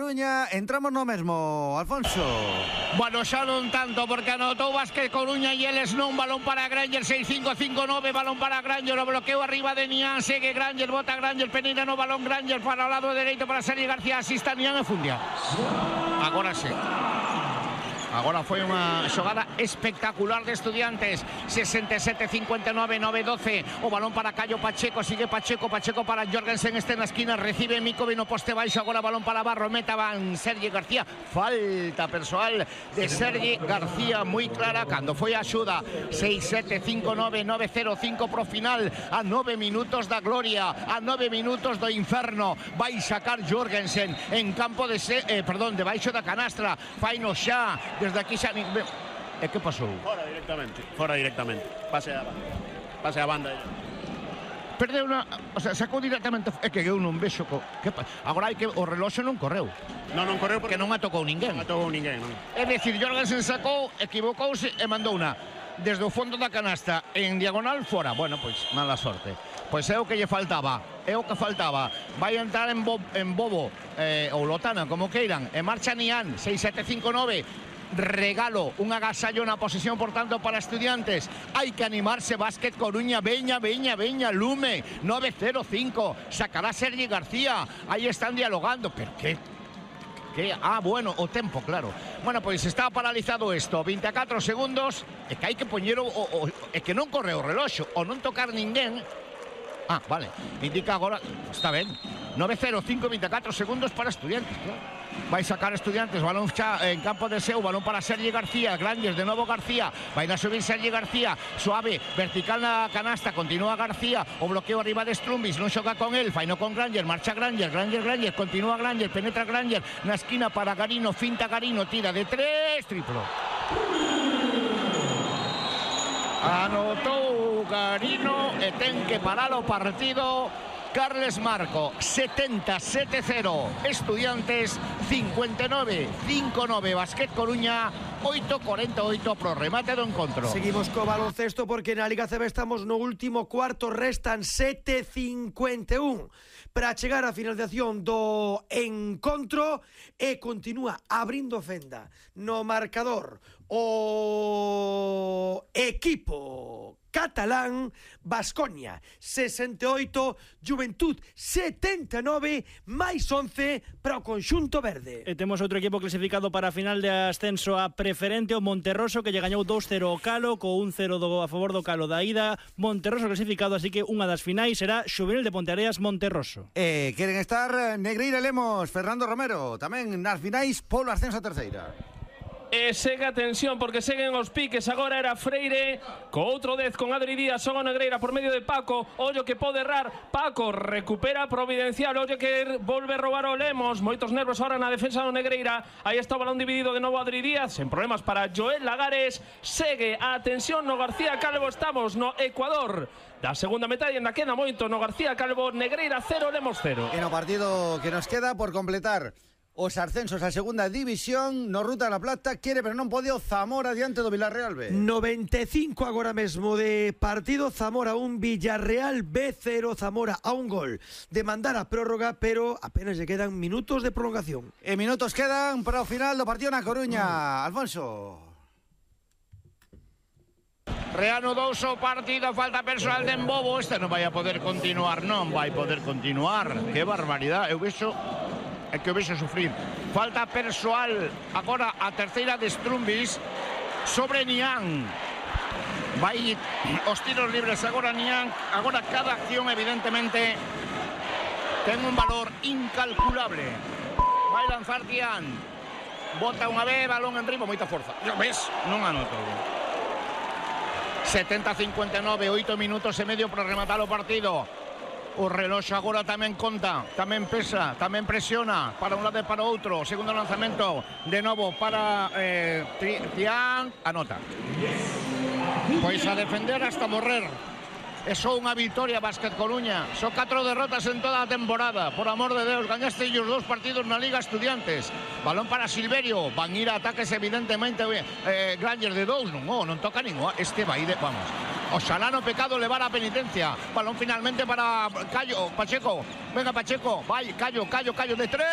Coruña, entramos no mesmo, Alfonso. Bueno, xa non tanto, porque anotou Básquet Coruña e eles non. Balón para Granger, 6-5-5-9, balón para Granger, o bloqueo arriba de Nian, segue Granger, bota Granger, peneira no balón Granger para o lado dereito para Sergi García, asista Nian e Fundia. Agora sí. Agora foi unha xogada espectacular de Estudiantes. 67-59, 9-12. O balón para Cayo Pacheco, sigue Pacheco, Pacheco para Jorgensen, este na esquina, recibe Mikovic no poste baixo, agora balón para Barro, meta van Sergi García. Falta persoal de Sergi García moi clara cando foi a axuda. 6-7-5-9, 9-0-5 pro final, a 9 minutos da gloria, a 9 minutos do inferno. Vai sacar Jorgensen en campo de debaixo da canastra. Faino xa. Desde aquí xa... E que pasou? Fora directamente. Pase a banda. Perdeu unha... O sea, sacou directamente... É que eu non vexo... Agora hai que... O reloxo non correu. Non correu porque non a tocou ninguén. Non a tocou ninguén, non. É dicir, Jorgensen sacou, equivocouse e mandou unha desde o fondo da canasta en diagonal fora. Bueno, pois, mala sorte. Pois é o que lle faltaba. É o que faltaba. Vai entrar en Bobo ou Lotana, como queiran. E marcha Nian, 6-7-5-9. Regalo, un agasallo na posesión, por tanto, para Estudiantes. Hai que animarse, Básquet Coruña, veña, lume, 9-0-5, sacará Sergi García, aí están dialogando, pero que... Ah, bueno, o tempo, claro. Bueno, pois está paralizado isto, 24 segundos, e que hai que poñer e que non corre o reloxo, ou non tocar ninguén. Ah, vale, indica agora, está ben, 9-0-5, 24 segundos para Estudiantes, claro. Vai sacar Estudiantes, balón xa en campo de seu, balón para Sergi García, Granger, de novo García, vai a subir Sergi García, suave, vertical na canasta, continúa García, o bloqueo arriba de Strumbis, non xoga con el, faino con Granger, marcha Granger, continúa Granger, penetra Granger, na esquina para Garino, finta Garino, tira de 3, triplo. Anotou Garino e ten que parar o partido Carles Marco. 77-0 Estudiantes, 59-5-9 Básquet Coruña, 8-48 pro remate do encontro. Seguimos co baloncesto porque na Liga CB estamos no último cuarto, restan 7:51 para chegar á finalización do encontro e continúa abrindo fenda no marcador o equipo catalán. Baskonia 68, Juventud 79, máis 11 para o conxunto verde. E temos outro equipo clasificado para a final de ascenso a preferente, o Monterroso, que lle gañou 2-0 ao Calo, co 1-0 a favor do Calo da ida. Monterroso clasificado, así que unha das finais será Xuvenil de Ponteareas Monterroso. Queren estar Negreira Lemos, Fernando Romero, tamén nas finais polo ascenso a terceira. E segue a tensión porque seguen os piques. Agora era Freire co outro 10 con Adri Díaz, son o Negreira por medio de Paco. Ollo que pode errar, Paco recupera Providencial, ollo que volve a roubar o Lemos. Moitos nervos ahora na defensa do Negreira. Aí está o balón dividido de novo Adri Díaz, sen problemas para Joel Lagares. Segue a tensión no García Calvo, estamos no Ecuador da segunda metade, ainda queda moito no García Calvo. Negreira 0, Lemos 0. En o partido que nos queda por completar os ascensos a segunda división, no Ruta da Plata, quere pero non pode o Zamora diante do Villarreal B. 95 agora mesmo de partido, Zamora 1, Villarreal B0, Zamora a un gol de mandar a prórroga, pero apenas lle quedan minutos de prolongación. E minutos quedan para o final do partido na Coruña. Alfonso. Reanudou o partido, falta persoal de Embobo, este non vai a poder continuar, non vai poder continuar. Que barbaridade, eu vexo... É que o vexo sufrir. Falta persoal agora a terceira de Strumbis sobre Nian. Vai os tiros libres agora Nian. Agora cada acción evidentemente ten un valor incalculable. Vai lanzar Nian. Bota unha vez, balón en ritmo, moita forza. Ves? Non anotou. 70-59, 8 minutos e medio para rematar o partido. O reloxo agora tamén conta, tamén pesa, tamén presiona para un lado e para outro. Segundo lanzamento de novo para Tian, anota. Pois a defender hasta morrer. É só unha victoria Básquet Coruña. Só 4 derrotas en toda a temporada. Por amor de Deus, gañaste os 2 partidos na Liga Estudiantes. Balón para Silverio. Van ir a ataques evidentemente Granger de 2. Non toca ningún. Este vai de... Vamos. Oxalá no pecado levar a penitencia. Balón finalmente para Cayo, Pacheco. Venga Pacheco, vai, Cayo de 3.